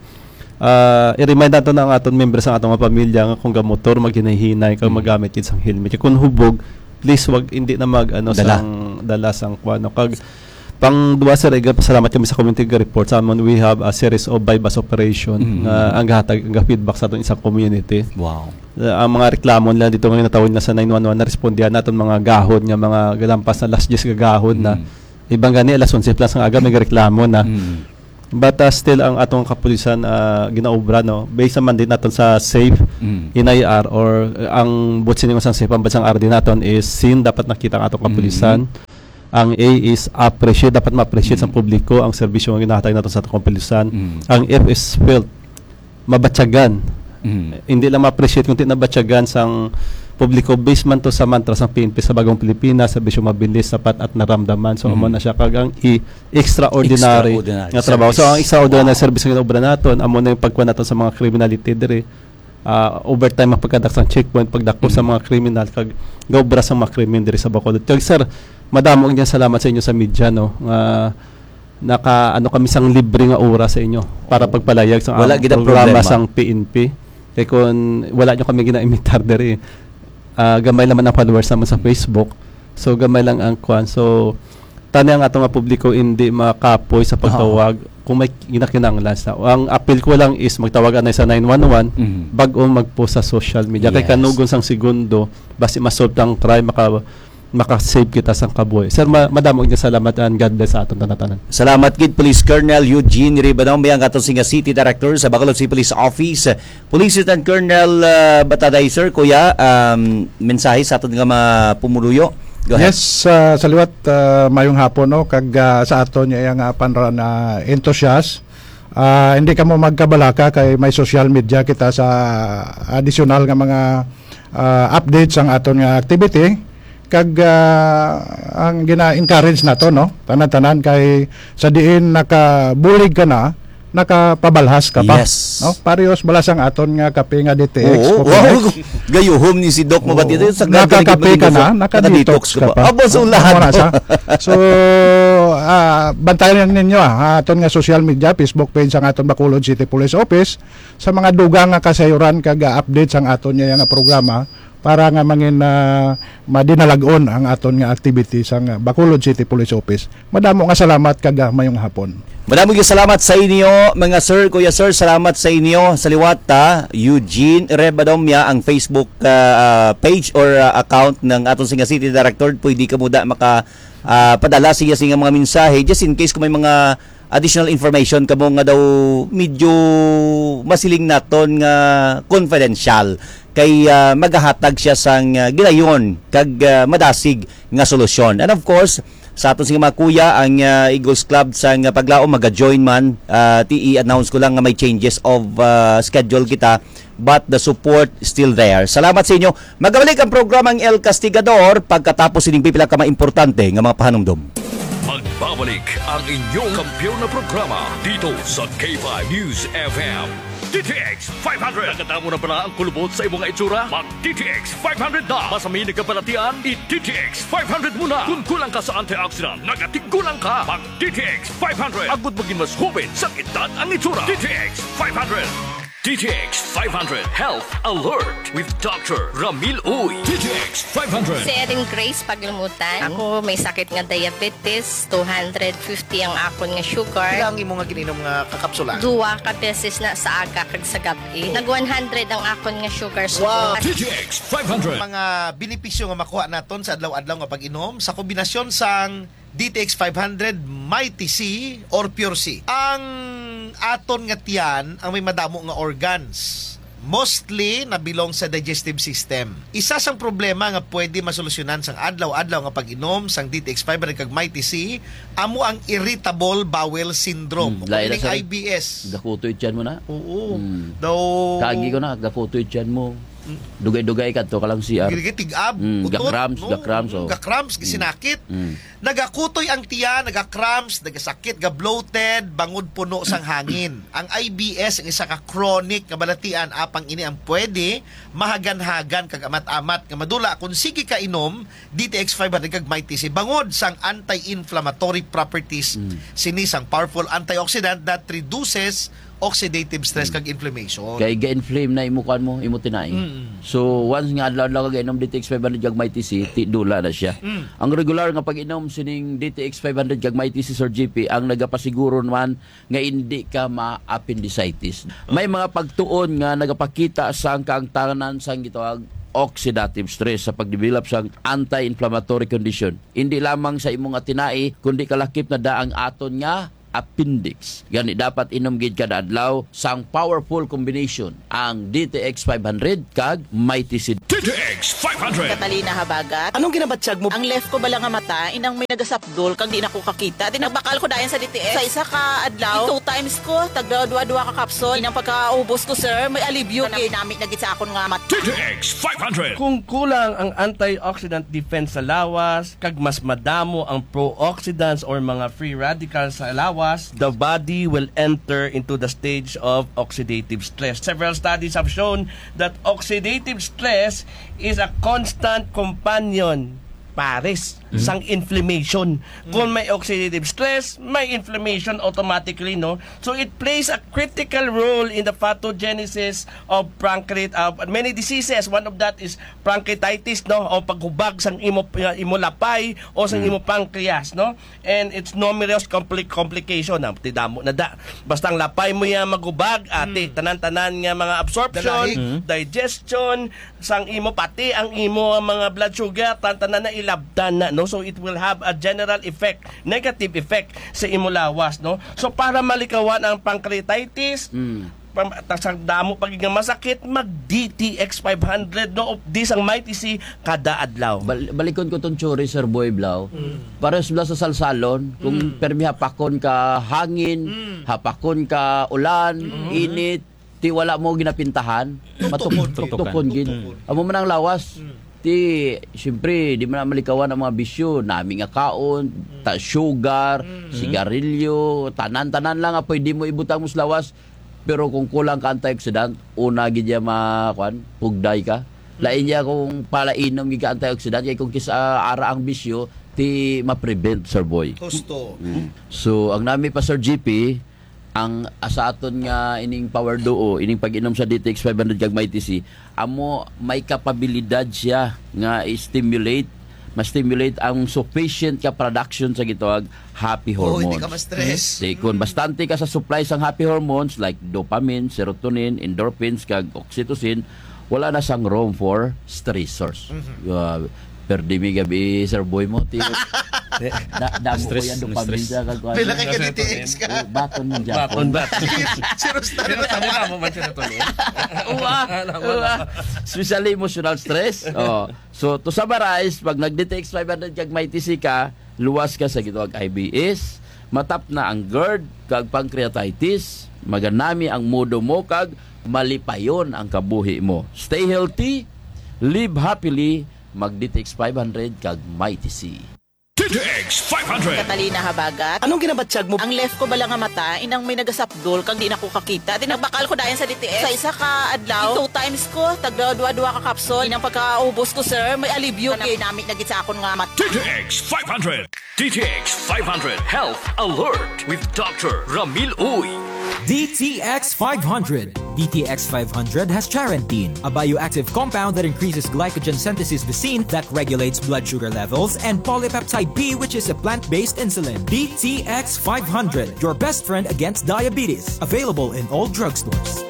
Ah, i-remind nato na ang aton members, ang aton mga pamilya nga kung gamotor, maghinahinay kag Mm. magamit gid sang helmet. Kung hubog, please wag, hindi na mag ano Dala. sang dala sang kwan, no? Kag pang duwa, sir, iga pasalamat kami sa community report sa amon. We have a series of buy-bust operation Mm. nga ang gahatag, ang feedback sa aton isang community. Wow. Uh, ang mga reklamo nila dito nga natawag na sa nine one one, na respondihan naton mga gahod nga mga galampas na alas diyes gagahod na. Mm. Ibang gani alas onse plus ang aga may reklamo na. Mm. But uh, still ang atong kapulisan uh, ginaobra, no, based sa mandate naton sa safe Mm. N I R or uh, ang butsin nga sang safe ang bansang R D naton is seen, dapat nakita ang atong kapulisan. Ang A is appreciate, dapat ma-appreciate Mm. sa publiko ang serbisyo nga ginahatag naton sa atong kapulisan. Mm. Ang F is felt, mabatyagan. Mm. Hindi lang ma-appreciate kundi nabatyagan sang publiko, based man to sa mantra sang P N P sa Bagong Pilipinas, serbisyo mabilis, sapat at naramdaman. So Mm. amo na siya kag ang E, extraordinary, Extraordinary nga trabaho. So ang service. extraordinary Wow. service nga obra naton amo na yung pagkuha naton sa mga criminality diri. Ah, overtime ang pagkadak sang checkpoint, pagdako sa Mm. mga kriminal kag gaobra sa mga krimen diri sa Bacolod. Kag sir, madamo ang salamat sa inyo sa media, no, nga naka ano kami sang libre nga oras sa inyo para pagpalayag sa Wala among gid ang programa problema. sang P N P. Kay kung wala nyo kami ginaimitar diri, ah, gamay naman ang followers naman sa Facebook. So gamay lang ang kwan. So tani ang ato nga publiko hindi makapoy sa pagtawag kung may ginakinanglan sa. Ang appeal ko lang is magtawag anay sa nine one one Mhm. bag-o mag-post sa social media. Kay Yes. kanugon sang segundo, basi ma-solve ang crime, maka maka-save kita sang kabuhi. Sir, ma- madamo nga salamat and God bless sa aton tanan-tanan. Salamat gid, Police Colonel Eugene Ribadong, ang aton singa City Director sa Bacolod City Police Office. Police Lieutenant Colonel uh, Bataday, sir, kuya, um, mensahe sa aton nga mga pumuluyo. Go ahead. Yes, ah, sa liwat, ah, mayong hapon, no, kag ah, sa aton niya nga panra na enthusiast. Ah, hindi kamo magkabalaka kay may social media kita sa additional nga mga ah, update sang aton nga activity, kag ah, ang gina-encourage nato, no, tanan-tanan kay sa diin nakabulig ka na, nakapabalhas ka pa. Yes. No? Parehas bala sang aton nga kape nga D T X. Oo, Coconut. Wow. Gayuhom ni si Doc Mabati. Oo. Sa ganda Nakakape ni ka na, Doc, nakadetox ka pa. Abo sa Oo, ulahan. Amo na siya. So, ah, bantayan ninyo, ah, aton nga social media, Facebook page sang aton Bacolod City Police Office, sa mga dugang nga kasayuran kag ah, update sang aton niya nga programa para nga mangin ah, madinalag-on ang aton nga activity sang ah, Bacolod City Police Office. Madamo nga salamat kag ah, mayong hapon. Madamo nga salamat sa inyo, mga sir, kuya sir, salamat sa inyo. Sa liwat ta, Eugene Rebadomia ang Facebook ah, ah, page or ah, account ng aton singa City Director. Pwede ka muda maka ah, padala siya sa mga mensahe just in case kung may mga additional information kamo nga daw medyo masiling naton nga confidential kay ah, magahatag siya sang ah, gilayon kag ah, madasig nga solusyon. And of course, sa aton sing mga kuya, ang ah, Eagles Club sa nga paglaom maga-join man, ah, ti i-announce ko lang nga may changes of ah, schedule kita, but the support still there. Salamat sa inyo. Magabalik ang programang El Castigador pagkatapos sining pipila ka mga importante nga mga pahanumdom. Magbabalik ang inyong kampiyon na programa dito sa K five News F M. D T X five hundred. Nakadamo na pala ang kulubot sa imong itsura? Mag D T X five hundred na. Mas may nagkabalatian, i D T X five hundred mo na. Kung kulang ka sa antioxidant, nagatigulang ka. Mag D T X five hundred. Agud maging mas hubin sa edad ang itsura. D T X five hundred. D T X five hundred Health Alert with Doctor Ramil Uy. D T X five hundred. Si Erin Grace Paglumutan. Ako may sakit nga diabetes, two hundred fifty ang akon nga sugar. Pila ang imo nga gininom nga kakapsula? Duwa ka beses na sa aga kag sa gab-i. Nag one hundred ang akon nga sugar. Wow. D T X five hundred. Mga benepisyo nga makuha naton sa adlaw-adlaw nga pag-inom sa kombinasyon sang D T X five hundred, Mighty C, or Pure C. Ang aton nga tiyan ang may madamo nga organs. Mostly nabilong sa digestive system. Isa sang problema nga pwede masolusyonan sang adlaw-adlaw nga pag-inom sang D T X five hundred kag Mighty C amo ang irritable bowel syndrome. Hmm, O lain na kining sa I B S. Gakutoy tiyan mo na. Oo. Hmm. Daw Kagi ko na, gakutoy tiyan mo. Dugay-dugay kadto ka lang C R. Ginigitig-ab, Mm, utot, ga-cramps, no? ga-cramps, Mm, oh. ga-cramps, Mm. gisinakit. Mm. Nagakutoy ang tiyan, naga-cramps, nagasakit, ga-bloated, bangod puno sang hangin. Ang I B S ang isa ka chronic nga balatian, apang ini ang pwede mahaganhagan kag amat-amat nga madula kung sige ka inom D T X five hundred kag Mighty C bangod sang anti-inflammatory properties Mm. sini sang powerful antioxidant that reduces oxidative stress Mm. kag inflammation. Kay ga-inflame na imo, kuan mo, imo tinai. Mm. So, once nga adlaw-adlaw ka gainom D T X five hundred kag Mighty C, ti-, dula na siya. Mm. Ang regular nga pag-inom sining D T X five hundred kag Mighty C, Sir G P, ang nagapasiguro naman nga hindi ka ma-appendicitis. May mga pagtuon nga nagapakita sang kaangtanan sang gitawag oxidative stress sa pagdevelop sang anti-inflammatory condition. Hindi lamang sa imo nga tinai, kundi kalakip na da ang aton nga appendix. Gani, dapat inom gid kada adlaw sang powerful combination ang D T X five hundred kag Mighty C. D T X five hundred. Catalina Habagat. Anong ginabatyag mo? Ang left ko bala nga mata, inang may nagasapdol, kag di na ko kakita. Di nagbakal ko dayon sa D T X. Sa isa ka adlaw, two times ko, tagda dua-dua ka capsule. Inang pagkaubos ko, sir, may alibyo gid. Nami-nami na gid sa akon nga mata. D T X five hundred. Kung kulang ang antioxidant defense sa lawas, kag mas madamo ang pro-oxidants or mga free radicals sa lawas, the body will enter into the stage of oxidative stress. Several studies have shown that oxidative stress is a constant companion, pares, Mhm. sang inflammation. Kung may oxidative stress, may inflammation automatically, no? So it plays a critical role in the pathogenesis of pancreat-, uh, many diseases. One of that is pancreatitis, no? O paghubag sang imo, imo lapay o sang Mm. imo pancreas, no? And it's numerous compli-, complication. Ah, ti damo na da. Basta ang lapay mo yan maghubag, ati, Mm. tanan-tanan nga mga absorption, Dalahi. Mm. digestion, sang imo, pati ang imo mga blood sugar, tan-, tanan na ilabtan na, no? So it will have a general effect, negative effect sa imo lawas, no? So para malikawan ang pancreatitis, Mm. pam-, ta-, sa damo pa gid nga masakit, mag D T X five hundred, no? Of this ang Mighty C kada adlaw. Bal-, balikon ko tong theory, Sir Boy Blau. Mm. Pares bala sa salsalon, kung Mm. permi hapakon ka hangin, Mm. hapakon ka ulan, Mm. init, ti wala mo ginapintahan, Tuktukon. matuk-, tuktukon gid. Tuktukon. Amo man ang lawas. Mm. Ti, siyempre, di man na malikawan ang mga bisyo, nami nga kaon, Mm. ta-, sugar, Mm. sigarilyo, tanan-tanan lang nga pwede mo ibutang mo sa lawas. Pero kung kulang ka antioxidant, una gid ya ma-, kuan, pugday ka. Lain Mm. ya kung palainom gid ka antioxidant, kay kung kis-, ah, ara ang bisyo, ti ma-prevent, Sir Boy. Husto. Mm. So, ang nami pa, Sir G P, ang, ah, sa aton nga ining Power Duo, ining pag-inom sa D T X five hundred kag Mighty C, amo may kapabilidad siya nga i-stimulate, ma-stimulate ang sufficient ka production sa gitawag happy Oh, hindi hormones. ka ma-stress. Di, kung Mm. bastante ka sa supply sang happy hormones like dopamine, serotonin, endorphins, kag oxytocin, wala na sang room for stressors. Mhm. Uh, perdi mi gabi, Sir Boy mo, ti-, na, damo ko Stress, yan, dopamine stress. sa kagkuhan. Pila kay ka D T X ka? Oh, baton man dyan. Baton, baton. Sige, si Rostan. Pero tama na mo man siya natuloy. Uwa, Alam mo uwa. na. Especially emotional stress. Oh. So, to summarize, pag nag-D T X five hundred kag Mighty C ka, luwas ka sa gitawag I B S, matap na ang GERD, kag pancreatitis, maganami ang modo mo, kag malipayon ang kabuhi mo. Stay healthy, live happily, mag-D T X five hundred kag Mighty C. D T X five hundred. Catalina Habagat. Anong ginabatyag mo? Ang left ko bala nga mata, inang may nagasapdol, kag di na ko kakita. Di nagbakal ko dayon sa D T X. Sa isa ka adlaw, two times ko, tagda dua-dua ka capsule. Inang pagkaubos ko, sir, may alibyo gid. Nami-nami na gid sa akon nga mata. D T X five hundred. D T X five hundred Health Alert with Doctor Ramil Uy. D T X five hundred. D T X five hundred has charantine, a bioactive compound that increases glycogen synthesis V C that regulates blood sugar levels, and polypeptide B, which is a plant-based insulin. D T X five hundred, your best friend against diabetes. Available in all drugstores.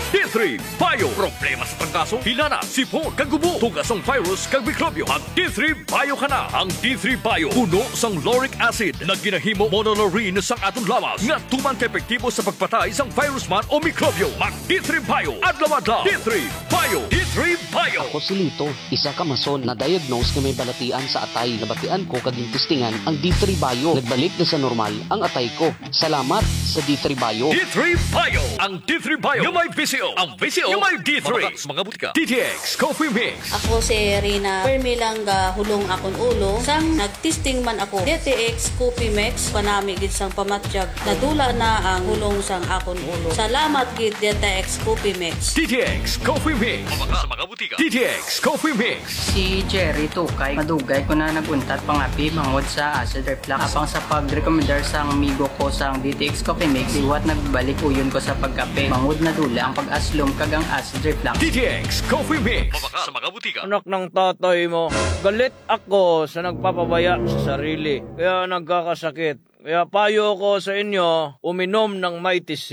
D three Bio. Problema sa trangkaso, hilanat, sipon, kag ubo, tugas sang virus kag mikrobyo. Mag D three Bio ka na. Ang D three Bio puno sang lauric acid nga ginahimo monolaurin sang aton lawas nga tuman ka epektibo sa pagpatay sang virus man o mikrobyo. Mag D three Bio adlaw-adlaw. D three Bio. D three Bio. Ako si Lito, isa ka mason na diagnose nga may balatian sa atay. Nabatian ko kag gintistingan ang D three Bio. Nagbalik na sa normal ang atay ko. Salamat sa D three Bio. D three Bio. Ang D three Bio nga may V C O. Ang presyo nga may D three. Mabaka sa mga butika. D T X Coffee Mix. Ako si Rina. Permi lang gahulong akon ulo. Sang nag-testing man ako, D T X Coffee Mix, panami gid sang pamatyag. Nadula na ang hulong sang akon ulo. Salamat gid, D T X Coffee Mix. D T X Coffee Mix. Mabaka sa mga butika. D T X Coffee Mix. Si Jerry Tukay, madugay ko na nag-untat pangapi bangod sa acid reflux. Apang sa pag-recommendar sang amigo ko sang D T X Coffee Mix, liwat nagbalik uyon ko sa pagkape. Bangod nadula ang pag-aslom kag ang acid reflux. D T X Coffee Mix. Mabaka sa mga butika. Anak ng tatay mo, galit ako sa nagpapabaya sa sarili, kaya nagkakasakit. Kaya payo ko sa inyo, uminom ng Mighty C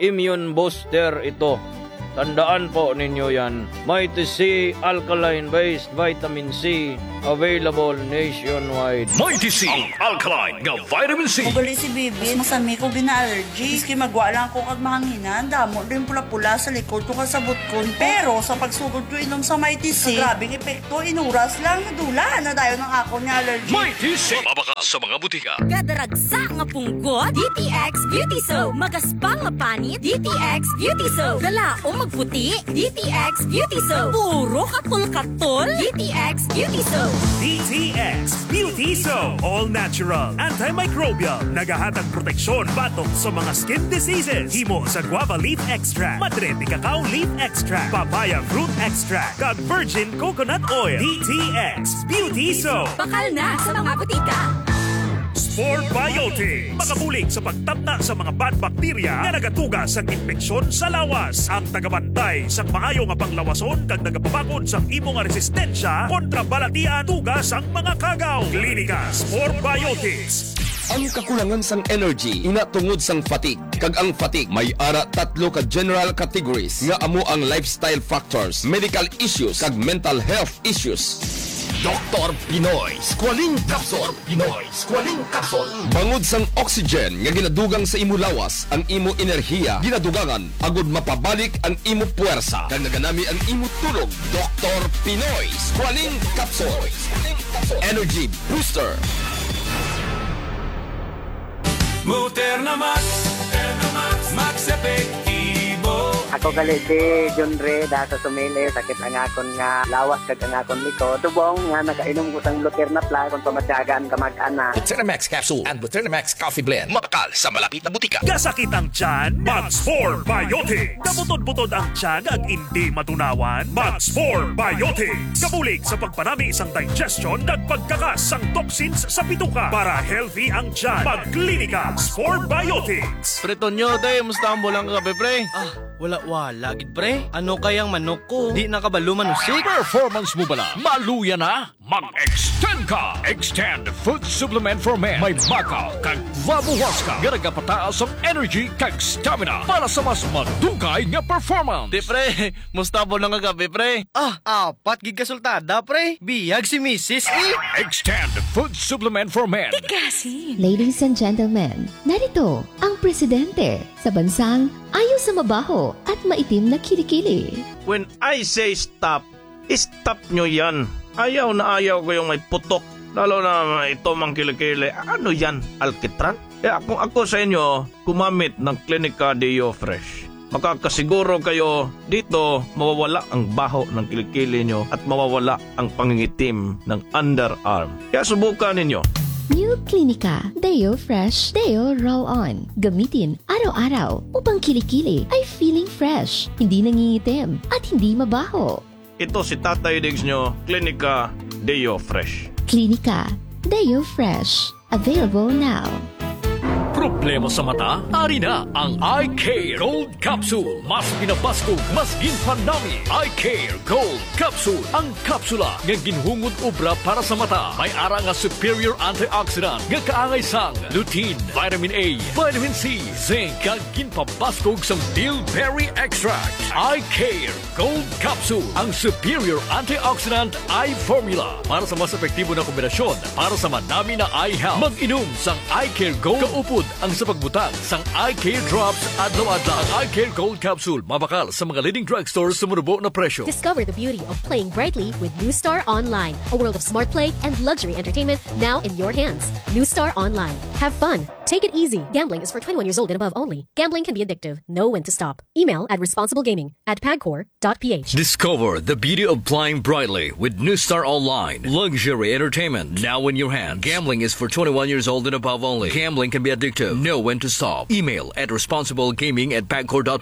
Immune Booster ito. Tandaan po ninyo yan. Mighty C Alkaline Based Vitamin C, available nationwide. Mighty C, ang alkaline nga vitamin C. Ugali si Bibi, masami ko gina-allergy. Maski magwa lang ako kag mahanginan, damo din pula-pula sa likod ko kag sa butkon ko. Pero sa pagsugod ko inom sa Mighty C, grabe ang epekto. Inuras lang, nadula na dayon ang akon nga allergy. Mighty C. Mabaka sa mga butika. Kada ragsa nga punggot, D T X Beauty Soap. Magaspang nga panit, D T X Beauty Soap. Kalaom magputi, D T X Beauty Soap. Puro katol-katol, D T X Beauty Soap. D T X Beauty Soap. All natural, antimicrobial. Nagahatag proteksyon batok sa mga skin diseases. Himo sa guava leaf extract. Madre de cacao leaf extract. Papaya fruit extract. Kag virgin coconut oil. D T X Beauty Soap. Bakal na sa mga butika. Spore Biotic. Makabulig sa pagtapna sa mga bad bacteria nga nagatuga sang impeksyon sa lawas. Ang tagabantay sang maayo nga panglawason kag nagapabakod sang imo nga resistensya kontra balatian tuga sang mga kagaw. Klinika Spore Biotics. Ang kakulangan sang energy ina tungod sang fatigue. Kag ang fatigue may ara tatlo ka general categories nga amo ang lifestyle factors, medical issues, kag mental health issues. Doktor Pinoy Squalene Capsule. Pinoy Squalene Capsule. Bangod sang oxygen nga ginadugang sa imo lawas, ang imo enerhiya ginadugangan agud mapabalik ang imo puwersa kag naganami ang imo tulog. Doktor Pinoy Squalene Capsule. Energy Booster. Muterna Max, Muterna Max, Max Epektibo. Ako gali si John Ray, da sa Sumili, sakit ang akon nga lawas kag ang akon likod. Subong nga nakainom ko sang Luterna Plus, kung pamatyagan, kamag-anak. Luterna Max Capsule and Luterna Max Coffee Blend. Mabakal sa malapit na butika. Kasakit ang tiyan? Mag Spore Biotic. Kabutod-butod ang tiyan ag indi matunawan? Mag Spore Biotic. Kabulig sa pagpanami sang digestion kag pagkakas sang toxins sa bituka. Para healthy ang tiyan, mag Klinika Spore Biotics. Pre Tonyo, te, musta ang bulang kagabi, pre? Ah, wala-wala gid, pre. Ano kayang manok ko? Di na kabalo manusik. Performance mo bala? Maluya na? Mag-extend ka! Extend Food Supplement for Men. May baka kag guava huasca nga nagapataas ang energy kag stamina para sa mas madugay nga performance. Te, pre, musta ang bulang kagabi, pre? Ah, apat gid ka sultada, pre. Biyag si misis, eh. Extend Food Supplement for Men. Tikasin. Ladies and gentlemen, narito ang presidente sa bansang ayaw sa mabaho at maitim na kilikili. When I say stop, stop nyo yan. Ayaw na ayaw ko yung may putok. Lalo na ito mang kilikili. Ano yan? Alkitran? Kaya kung ako sa inyo, gumamit ng Klinika Deo Fresh. Makakasiguro kayo dito mawawala ang baho ng kilikili nyo at mawawala ang pangingitim ng underarm. Kaya subukan ninyo. New Clinica Deo Fresh Deo Roll On. Gamitin araw-araw upang kilikili ay feeling fresh, hindi nangingitim, at hindi mabaho. Ito si Tatay Diggs nyo, Klinika Deo Fresh. Klinika Deo Fresh. Available now. Problema sa mata? Ari na ang Eye Care Gold Capsule. Mas ginabaskog, mas ginpanami. Eye Care Gold Capsule. Ang kapsula nga ginhungod obra para sa mata. May ara nga superior antioxidant nga kaangay sang lutein, vitamin A, vitamin C, zinc, kag ginpabaskog sang bilberry extract. Eye Care Gold Capsule, ang superior antioxidant eye formula para sa mas epektibo na kombinasyon para sa manami na eye health. Mag-inom sang Eye Care Gold kaupod Ang sa pagbutang sang Eye Care Drops adlaw-adlaw. Ang Eye Care Gold Capsule mabakal sa mga leading drugstore sa manubo na presyo. Discover the beauty of playing brightly with New Star Online, a world of smart play and luxury entertainment now in your hands. New Star Online. Have fun. Take it easy. Gambling is for twenty-one years old and above only. Gambling can be addictive. Know when to stop. Email at responsiblegaming at pagcor.ph. Discover the beauty of playing brightly with New Star Online. Luxury entertainment now in your hand. Gambling is for twenty-one years old and above only. Gambling can be addictive. Know when to stop. Email at responsiblegaming at pagcor.ph.